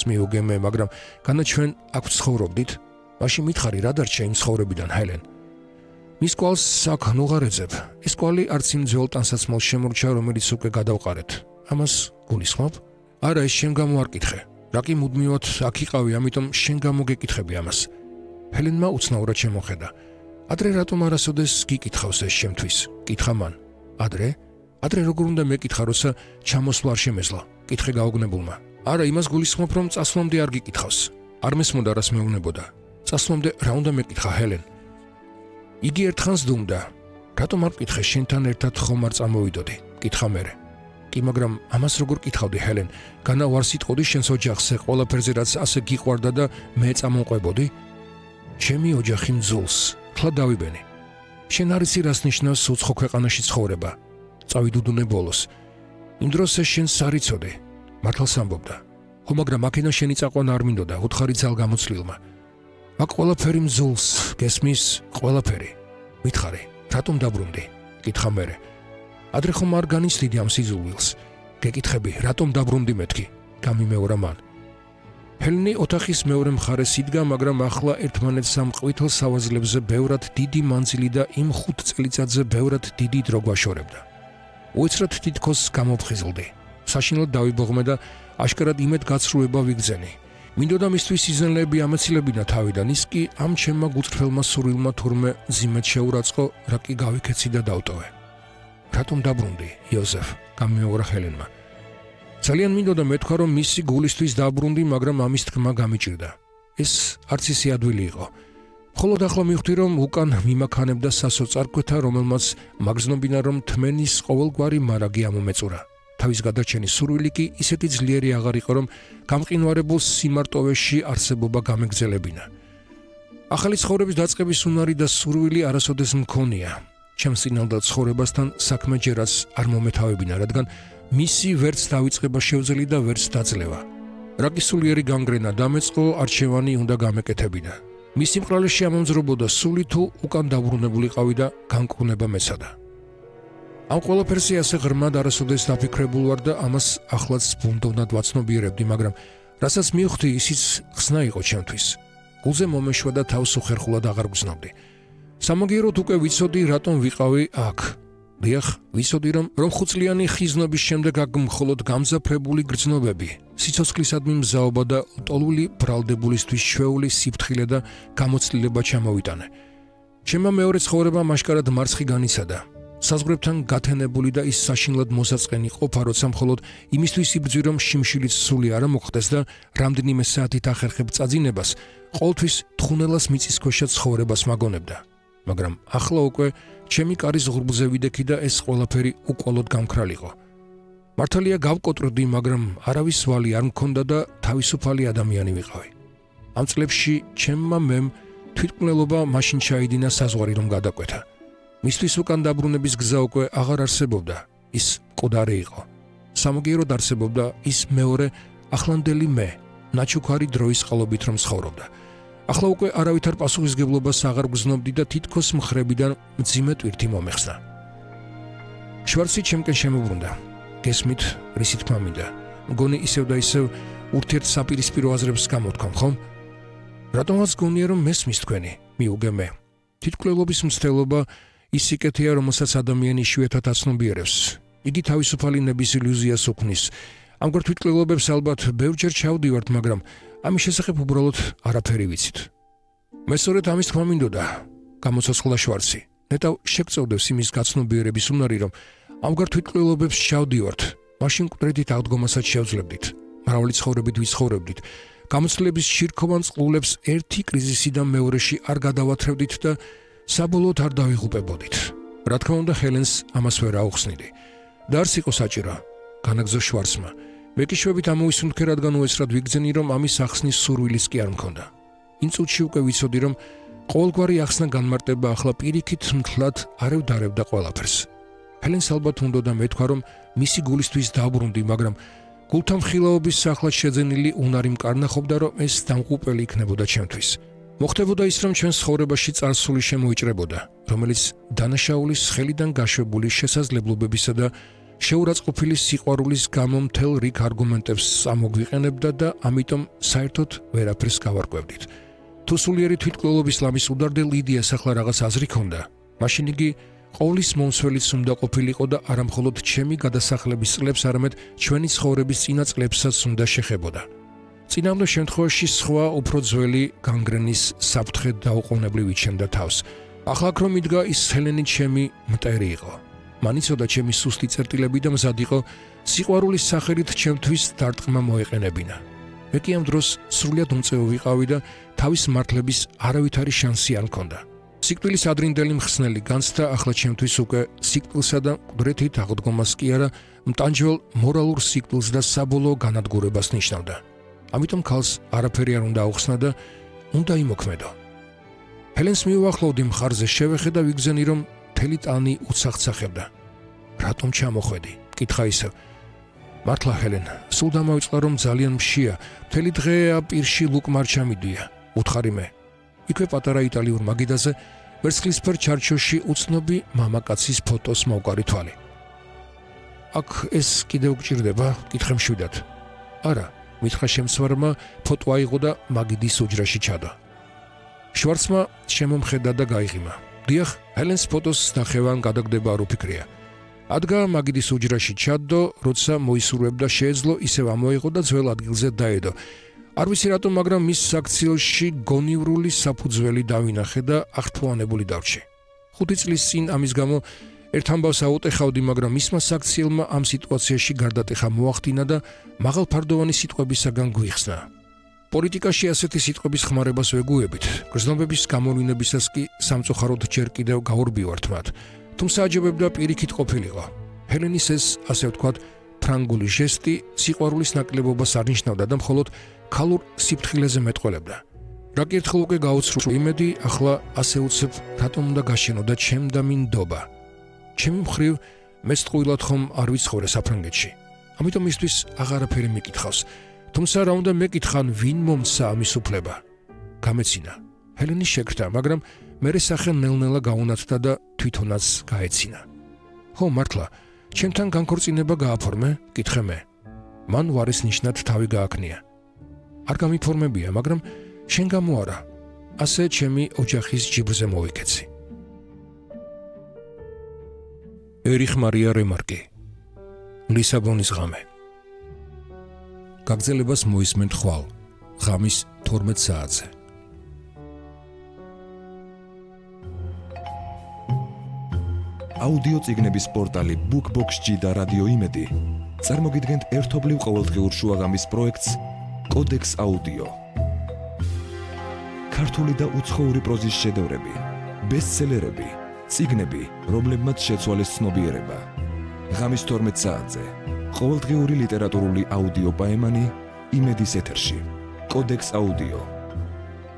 მიუგემე, მაგრამ განა ჩვენ აქ ცხოვრობდით, მაშინ მითხარი რა დარჩა იმ ცხოვრებიდან, ჰელენ. მის კვალს აქ ნუღარეძებ. ეს კვალი არც იმ ძველ ტანსაცმელს შემორჩა, რომელიც უკვე გადავყარეთ. ამას გულისხმობ? არა, ეს შენ გამო არ კითხე. რა კი მუდმივად აქ იყავი, ამიტომ შენ გამო გეკითხები ამას. ჰელენმა უცნაურად შემოხედა. ადრე რატომ არასოდეს გიკითხავს ეს შემთვის? კითხა მან. ადრე როგორ უნდა მეკითხა, როცა ჩამოსვლა არ შემეძლო? კითხე გაოგნებულმა. არა, იმას გულისხმობ, რომ წასვლამდე არ გიკითხავს. არ მესმოდა რას მეუბნებოდა. წასვლამდე რა უნდა მეკითხა, ჰელენ? იგი ერთხანს დუმდა. რატომ არ მკითხე, შენთან ერთად ხომ არ წამოვიდოდი? კითხა მერე. კი, მაგრამ ამას როგორ კითხავდი, ჰელენ? განა ვარ სიტყოდი შენს ოჯახზე, ყველაფერზე რაც ასე გიყვარდა და მე წამოვყვებოდი? ჩემი ოჯახი მძულს, ხლა დავიბენი. შენ არ იცი რას ნიშნავს უცხო ქვეყანაში ცხოვრება. წავიდუდუნე ბოლოს. იმ დროს ეს შენს არ იცოდი. მართალს ამბობდა. ხო, მაგრამ აქედან შენი წაყვანა არ მინდოდა, უთხარი ძალ გამოცლილმა. აქ ყველაფერი მძულს, გესმის, ყველაფერი. მითხარი, რატომ დაბრუნდი? კითხა მერე. ადრე ხომ არ განიცდიდი ამ სიზულვილს? გეკითხები, რატომ დაბრუნდი მეთქი? გამიმეორა მან. ჰელენი ოთახის მეორე მხარეს იდგა, მაგრამ ახლა ერთმანეთს ამ ყვითელ სავაზლებზე ბევრად დიდი მანძილი და იმ 5 წელიწადზე ბევრად დიდი დრო გვაშორებდა. უეცრად თითქოს გამოფხიზლდი. საშინლად დავიბოღმე და აშკარად იმედ გაცრუება ვიგზენი. მინდოდა მისთვის იზენლები ამეცილებინა თავიდან, ის კი ამ ჩემმა გუწრფელმა სურვილმა თურმე მძიმედ შეურაცხო, რა კი გავიქეცი და დავტოვე. რატომ დაბრუნდი, იოზეფ? გამიმეორა ჰელენმა. ძალიან მინდოდა მეთქვა, რომ მისი გულისთვის დაბრუნდი, მაგრამ ამის თქმა გამიჭირდა. ეს არც ისე ადვილი იყო. მხოლოდ ახლა მივხვდი, რომ უკან მიმაქანებდა სასოწარკვეთა, რომელმაც მაგზნობინა, რომ თმენის ყოველგვარი მარაგი ამომეწურა. თავის გადარჩენის სურვილი კი ისეთი ძლიერი აღარ იყო, რომ გამყინვარებულ სიმარტოვეში არსებობა გამეგზელებინა. ახალი ცხოვრების დაწყების უნარი და სურვილი არასოდეს მქონია. ჩემს წინალდა ცხოვრებასთან საქმე ჯერაც არ მომეთავებინა, რადგან მისი ვერც დავიწყება შევძლი და ვერც დაძლევა. რა კი სულიერი განგრენა დამეწყო, არჩევანი უნდა გამეკეთებინა. მისი მკრალეში ამომძრობოდა სული თუ უკან დაბრუნებულიყავი და განკურნება მეცადა. ამ ყველაფერზე ასე ღრმად არასოდეს დაფიქრებულ ვარ და ამას ახლაც ბუნდოვნად ვაცნობიერებდი, მაგრამ რასაც მივხვდი, ისიც ხსნა იყო ჩემთვის. გულზე მომეშვა და თავს უხერხულად აღარ გრძნობდი. სამაგიეროდ უკვე ვიცოდი, რატომ ვიყავი აქ. დიახ, ვიცოდი, რომ 5 წლიანი ხიზნობის შემდეგ აქ მხოლოდ გამძაფრებული გრძნობები, სიცოცხლისადმი მზაობა და ლტოლვილი ბრალდებულისთვის ჩვეული სიფრთხილე და გამოცდილება ჩამოვიტანე. ჩემმა მეორე ცხოვრება მაშკარად მარცხი განიცადა. საზღვრებთან გათენებული და ის საშინლად მოსაწყენი ყოფა, როცა მხოლოდ იმისთვის იბრძვი, რომ შიმშილიც სული არ მოხდეს და რამდენიმე საათით ახერხებ წაძინებას, ყოველთვის თხუნელას მიწისქვეშა ცხოვრებას მაგონებდა. მაგრამ ახლა უკვე ჩემი კარის ღრუბლზე ვიდექი და ეს ყველაფერი უკვალოდ გამქრალიყო. მართალია გავკოტრდი, მაგრამ არავის ვალი არ მქონდა და თავისუფალი ადამიანი ვიყავი. ამ წლებში ჩემმა მემ თვითმკვლელობა მაშინ ჩაიდინა საზღვარი რომ გადაკვეთა. მისთვის უკან დაბრუნების გზა უკვე აღარ არსებობდა, ის მკვდარი იყო. სამაგიეროდ არსებობდა ის მეორე ახლანდელი მე, ნაჩუქარი დროის წყალობით რომ ცხოვრობდა. ახლა უკვე არავითარ პასუხისგებლობას აღარ გრძნობდი და თითქოს მხრებიდან მძიმე ტვირთი მომეხსნა. შვარცი ჩემკენ შემოbrunდა. გესმით, რისი თქმა მინდა. მგონი ისევ და ისევ ურთიერთსაპირისპირო აზრებს გამოთქვამ, ხომ? რატომაც გონია, რომ მესმის თქვენი, მიუგე მე. თვითმკვლელობის მცდელობა ის სიკეთეა, რომელსაც ადამიანი იშვიათად აცნობიერებს. იგი თავისუფალი ნების ილუზიას უქმნის. ამგვარ თვითმკვლელობებს ალბათ ბევრჯერ ჩავდივართ, მაგრამ ამის შესახებ უბრალოდ არაფერი ვიცით. მე სწორედ ამის თქმა მინდოდა, გამოცოცხლა შვარცი. ნეტავ შეგწევდებს იმის გაცნობიერების უნარი, რომ ამგვარ თვითმკვლელობებს ჩავდივართ, მაშინ მკვდრედით აღდგომასაც შევძლებდით. მრავალი ცხოვრებით ვიცხოვრებდით. გამოცდილების შირქოვან წყლულებს ერთი კრიზისიდან მეორეში არ გადავათრევდით და საბოლოოდ არ დავიღუპებოდით. რა თქმა უნდა, ჰელენს ამას ვერ აუხსნიდი. და არც იყო საჭირო, განაგზო შვარცმა. მე კი შვებით ამოვისუნთქე, რადგან უეცრად ვიგრძენი, რომ ამის ახსნის სურვილის კი არ მქონდა. იმ წუთში უკვე ვიცოდი, რომ ყოველგვარი ახსნა განმარტება ახლა პირიქით მთლად არ ევდარებდა ყველაფერს. ჰელენს ალბათ უნდოდა მეთქვა, რომ მისი გულისთვის დაბრუნდი, მაგრამ გულთან ხილაობის სახლად შეძენილი უნარი მკარნახობდა, რომ ეს დამღუპელი იქნებოდა ჩემთვის. მოხდებოდა ის, რომ ჩვენს ცხოვრებაში წარსული შემოიჭრებოდა, რომელიც დანაშაულის ხელიდან გაშვებული შესაძლებლობებისა და შეურაცხყოფილი სიყვარულის გამო მთელ რიგ არგუმენტებს ამოგვიყენებდა და ამიტომ საერთოდ ვერაფერს გავარკვევდით. თუ სულიერი თვითმკვლელობის ლამის უდარდე ლიდიას ახლა რაღაც აზრი ქონდა, მაშინ იგი ყოვლის მომსველიც უნდა ყოფილიყო და არა მხოლოდ ჩემი გადასახლების წლებს, არამედ ჩვენი ცხოვრების წინა წლებსაც უნდა შეხებოდა. წინამდე შემთხვევაში სხვა უფრო ძველი განგრენის საფრთხე დაუყოვნებლივ იჩენდა თავს. ახლა აქ რომ იდგა ის ჰელენი ჩემი მტერი იყო. მან იცოდა ჩემი სუსტი წერტილები და მზად იყო სიყვარულის სახელით ჩემთვის დარტყმა მოეყენებინა. მე კი ამ დროს სრულიად უმწევი ვიყავი და თავის მართლების არავითარი შანსი არ მქონდა. სიკვდილის ადრინდელი მხსნელი განცდა ახლა ჩემთვის უკვე სიკვდილსა და მკვდრეთით აღდგომას კი არა, მტანჯველ მორალურ სიკვდილს და საბოლოო განადგურებას ნიშნავდა. ამიტომ ქალს არაფერი არ უნდა აუხსნა და უნდა იმოქმედო. ჰელენს მივუახლოვდი მხარზე, შევეხე და ვიგზენი, რომ მთელი ტანი უცახცახებდა. რატომ ჩამოხვედი? კითხა ისევ. მართლა ჰელენ, სულ დამავიწყდა, რომ ძალიან მშია, მთელი დღე პირში ლუკ მარჩამიდია, უთხარი მე. იქვე პატარა იტალიურ მაგიდაზე ვერცხლისფერ ჩარჩოში უცნობი მამაკაცის ფოტოს მოვკარი თვალი. აქ ეს კიდევ გჭირდება? კითხე მშვიდად. არა, მითხრა შემცვარმა, ფოტო აიღო და მაგიდის უჯრაში ჩადო. შვარცმა შემომხედა და გაიღიმა. დიახ, ჰელენს ფოტოს ნახევან გადაგდება არ უფიქრია. ადგა მაგიდის უჯრაში ჩადო, როცა მოისურვებდა შეეძლო, ისევ ამოიღო და ძველ ადგილზე დაედო. არ ვიცი რატომ, მაგრამ მის საქციელში გონივრული საფუძველი დავინახე და აღთვალანებული დავრჩი. 5 წლის წინ ამის გამო ერთ ამბავს აუტეხავდი, მაგრამ მისმა საქციელმა ამ სიტუაციაში გარდატეხა მოახდინა და მაღალფარდოვანი სიტყვებისაგან გვიხსნა. პოლიტიკაში ასეთი სიტყვების ხმარებას ვეგუებით, გრძნობების გამოვლინებისას კი სამწუხაროდ ჯერ კიდევ გაურბივართ მათ, თუმცა აჯობებდა პირიქით ყოფილიყო. ჰელენის ეს, ასე ვთქვათ, ფრანგული ჟესტი სიყვარულის ნაკლებობას არ ნიშნავდა და მხოლოდ ქალურ სიფრთხილეზე მეტყველებდა. რა კი ერთხელ უკვე გაუცრუ იმედი, ახლა ასე უცებ რატომ უნდა გაშენო და ჩემ და მინდობა. ჩემი მხრივ მეც ტყუილად ხომ არ ვიცხოვრე საფრანგეთში. ამიტომ მისთვის აღარაფერი მიკითხავს. თუმცა რა უნდა მეკითხან, ვინ მომცა ამის უფლება? გამეცინა. ჰელენი შეკრთა, მაგრამ მერე სახე ნელ-ნელა გაუნათდა და თვითონაც გაეცინა. ხო, მართლა, ჩემთან განქორწინება გააფორმე? კითხე მე. მან ვარის ნიშნად თავი გააკნია. არ გამიფორმებია, მაგრამ შენ გამო არა. ასე ჩემი ოჯახის ჯიბრზე მოვიქეცი. ერიხ მარია რემარკი. ლისაბონის ღამე. გაგრძელებას მოისმენთ ხვალ, ღამის 12 საათზე. აუდიო წიგნების პორტალი BookBox-G და რადიო იმედი წარმოგიდგენთ ერთობლივ ყოველდღიურ შუაღამის პროექტს კოდექს აუდიო. ქართული და უცხოური პროზის შედევრები, ბესტსელერები, წიგნები, რომლებმაც შეცვალეს ცნობიერება. ღამის 12 საათზე ყოველდღიური ლიტერატურული აუდიო პაემანი იმედის ეთერში. კოდექს აუდიო.